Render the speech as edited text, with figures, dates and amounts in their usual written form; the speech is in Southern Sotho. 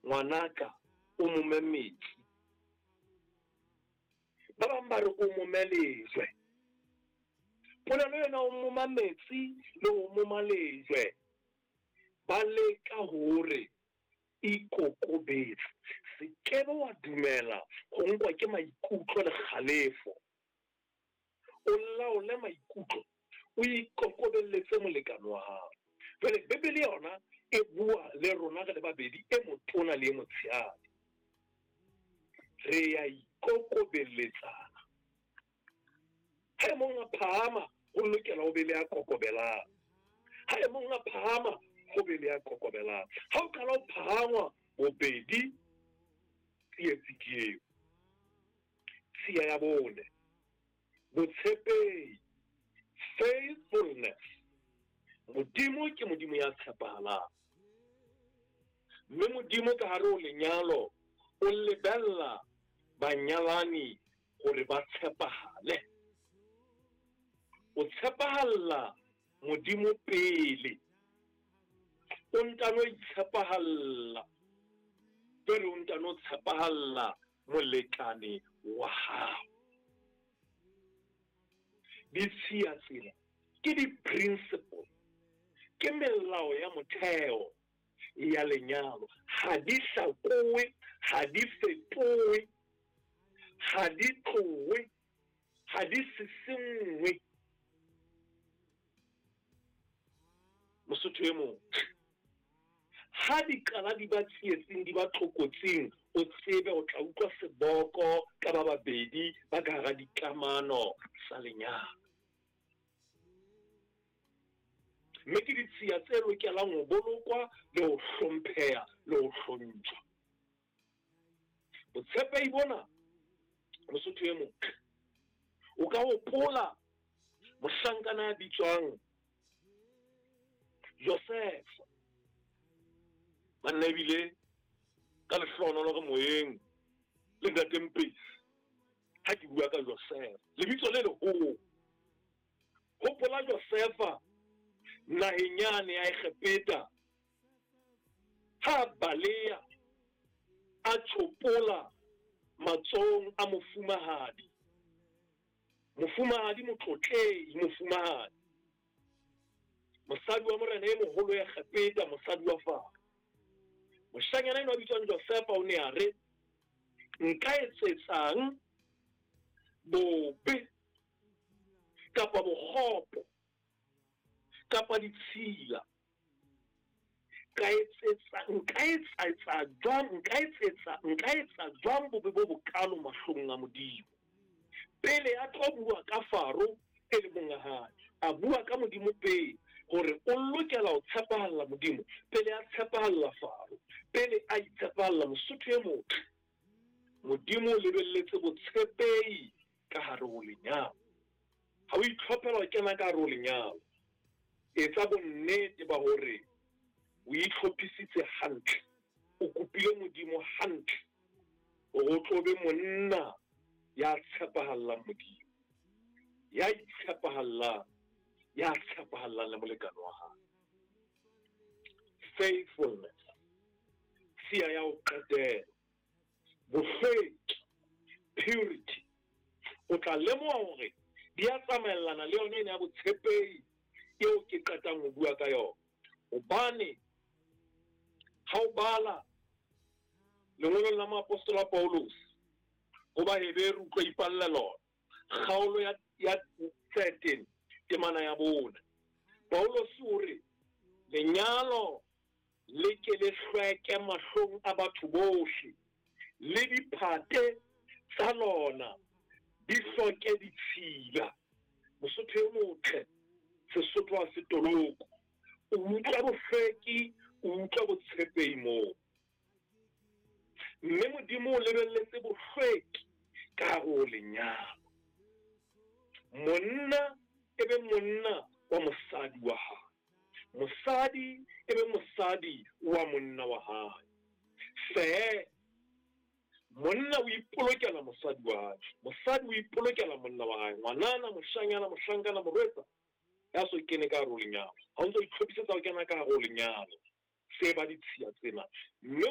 Ngwanaka, o mome metsi. Ba bang ba re o mome lejwe. Polelo ena o moma metsi le ho moma lejwe, ba leka hore ikokobetse. Se kebe wa dumela ho nkwa ke maikutlo le kgalefo. O laole maikutlo, o ikokobelletse molekane wa hao. Jwale Bibele yona e bua le rona re le babedi, e motona le e motshehadi. Re ya ikokobelletsana. Ha e mong a phahama, ho lokela ho be le ya kokobelang. Ha e mong a phahama, ho be le ya kokobelang. Ha o qala ho phahangwa bobedi, tsietsi ke eo. Tshiya ya bone, botshepehi, faithfulness. Modimo ke Modimo ya tshepahalang. Mme Modimo ka hare ho lenyalo o lebella banyalani hore ba tshepahale. O tshepahalla Modimo pele, o ntano itshepahalla pele, o ntano tshepahalla molekane wa hao. Ditshiya tsena ke di-principle, ke melao ya motheo ya lenyalo. Ha di hlakowe, ha di fetowe, ha di tlowe, ha di sisinngwe. Mosotho e motle, ha di qala di ba tsietsing, di ba tlokotsing, o tsebe o tla utlwa seboko ka ba babedi ba ka hara dikamano tsa lenyalo. Mme ke ditshiya tse lokelang ho bolokwa le ho hlompheha le ho hlontjhwa. Botshepehi bona, Mosotho e motle, o ka hopola mohlankana ya bitswang Josefa. Banna ebile ka lehlohonolo re moyeng le Ntate Mpesi ha ke bua ka Josefa, lebitso le leholo. Hopola Josefa naheng yane ya Egepeta, ha a baleha a tjhopola matsohong a mofumahadi. Mofumahadi motlotlehi, mofumahadi, mosadi wa morena e moholo ya Egepeta, mosadi wa Faro. Moshanyana enwa a bitswang Josefa o ne a re, Nka etsetsang bobe kapa bokgopo kapa ditshila? Ka etsetsa, nka etsa jwang, nka etsetsa, nka etsa jwang bobe bo bokalo mahlong a Modimo? Pele a tlo bua ka Faro e le monga hae, a bua ka Modimo pele, hore o lokela ho tshepahalla Modimo pele a tshepahalla Faro, pele a itshepahalla. Mosotho e motle, Modimo o lebelletse botshepehi ka hare ho lenyalo. Ha o itlhophela ho kena ka hare ho lenyalo, etsa bonnete ba hore o itlhophisitse hantle, o kopile Modimo hantle hore o tlo be monna ya tshepahallang Modimo, ya itshepahallang, ya tshepahallang le molekane wa hae. Faithfulness, tshiya ya ho qetela. Bohlweki, purity. O tla lemoha hore di a tsamaellana le yona ena ya botshepehi eo ke qetang ho bua ka yona. Hobane ha o bala lengolong la moapostola Paulus ho Baheberu, o tlo ipalla lona, kgaolo ya, ya 13 temana ya 4, Paulus o re lenyalo le ke le hlweke mahlong a batho bohle, le diphate tsa lona di hloke ditshila. Mosotho e motle, Sesotho ha se toloko. O utlwa bohlweki, o utlwa botshepehi moo. Mme Modimo o lebelletse bohlweki ka hare ho lenyalo. Monna e be monna wa mosadi wa hae. Mosadi e be mosadi wa monna wa hae. Feela monna o ipolokela mosadi wa hae, mosadi o ipolokela monna wa hae. Ngwanana, moshanyana, mohlankana, morwetsa ya so kene ka hare ho lenyalo, ha o ntso itlhophisetsa ho kena ka hare ho lenyalo, tseba ditshiya tsena. Mme